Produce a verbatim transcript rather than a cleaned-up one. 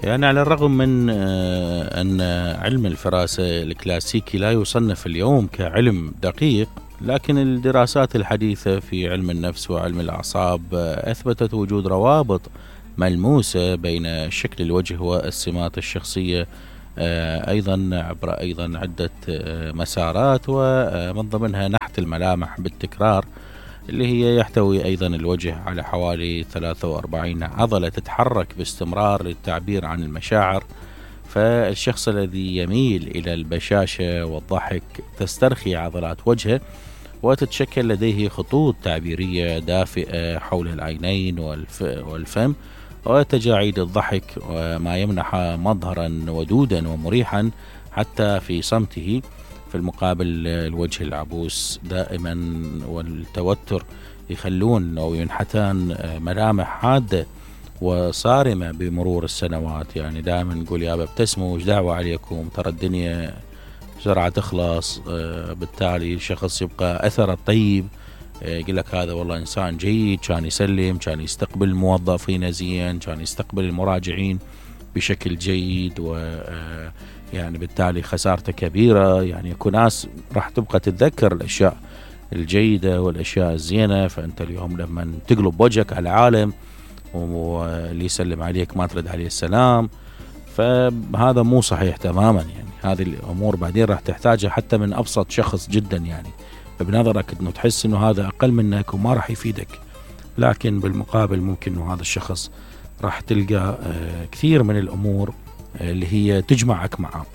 يعني على الرغم من أن علم الفراسة الكلاسيكي لا يصنف اليوم كعلم دقيق، لكن الدراسات الحديثة في علم النفس وعلم الأعصاب أثبتت وجود روابط ملموسة بين شكل الوجه والسمات الشخصية، أيضا عبر أيضا عدة مسارات، ومن ضمنها نحت الملامح بالتكرار، اللي هي يحتوي أيضا الوجه على حوالي ثلاثة وأربعين عضلة تتحرك باستمرار للتعبير عن المشاعر. فالشخص الذي يميل إلى البشاشة والضحك تسترخي عضلات وجهه، وتتشكل لديه خطوط تعبيرية دافئة حول العينين والفم وتجاعيد الضحك، وما يمنح مظهرا ودودا ومريحا حتى في صمته. في المقابل الوجه العبوس دائما والتوتر يخلون أو ينحتان ملامح حادة وصارمة بمرور السنوات. يعني دائما نقول يا ابتسموا وش دعوة عليكم، ترى الدنيا بسرعة تخلص. بالتالي الشخص يبقى أثر الطيب، يقول لك هذا والله إنسان جيد، كان يسلم، كان يستقبل الموظفين زين، كان يستقبل المراجعين بشكل جيد، و يعني بالتالي خسارته كبيرة. يعني يكون ناس راح تبقى تتذكر الأشياء الجيدة والأشياء الزينة، فأنت اليوم لما تقلب وجهك على العالم واللي يسلم عليك ما ترد عليه السلام، فهذا مو صحيح تماما. يعني هذه الأمور بعدين راح تحتاجها حتى من أبسط شخص جدا، يعني بنظرك أنه تحس أنه هذا أقل منك وما راح يفيدك، لكن بالمقابل ممكن أنه هذا الشخص راح تلقى كثير من الأمور اللي هي تجمعك معه.